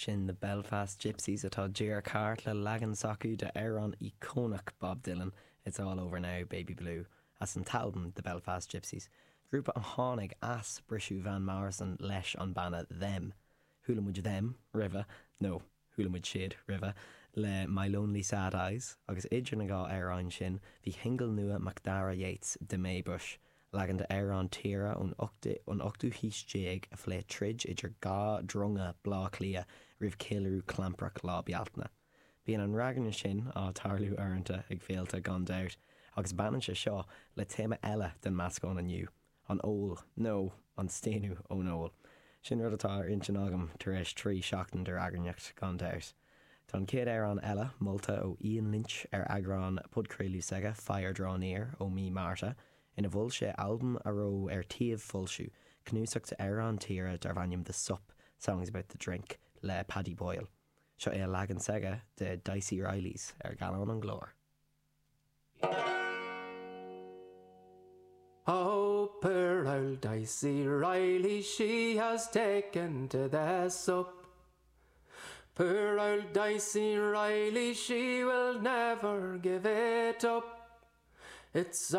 Sin The Belfast Gypsies atá díreach thart le leagan s'acu de amhrán íocónach Bob Dylan, It's All Over Now, Baby Blue, as an t-albam The Belfast Gypsies, grúpa a tháinig as briseadh Van Morrison leis an banna Them. Chuala muid Them roimhe, nó chuala muid siad roimhe, le My Lonely Sad Eyes, agus idir na dhá amhráin sin bhí shingil nua Macdara Yeates, The May Bush, Leagan d'amhrán tíre ón ochtú haois déag a phléigh troid idir dhá dronga Bhleá Cliath roimh cheiliúradh clamprach Lá Bealtaine. Bíonn an ragairne sin á tarlú uaireanta ag féilte gan dabht, agus baineann sé seo le téama eile den meascán inniu, an ól, nó an staonadh ón ól. Sin rud atá ar intinn agam tar éis 3 seachtain de ragairneacht, gan dabht. Tá an chéad amhrán eile molta ó Ian Lynch ar eagrán podchraoladh s'aige, Fire Draw Near, ó mí Márta, ina mhol sé albam a raibh ar tí foilsiú, cnuasach d'amhráin tíre darbh ainm The Sup, Songs About the Drink, le Paddy Boyle. Seo é a leagan s'aige de Dicey Reilly's ar Gallán an Ghlóir. Oh, poor old Dicey Reilly, she has taken to the sup. Poor old Dicey Reilly, she will never give it up. It's.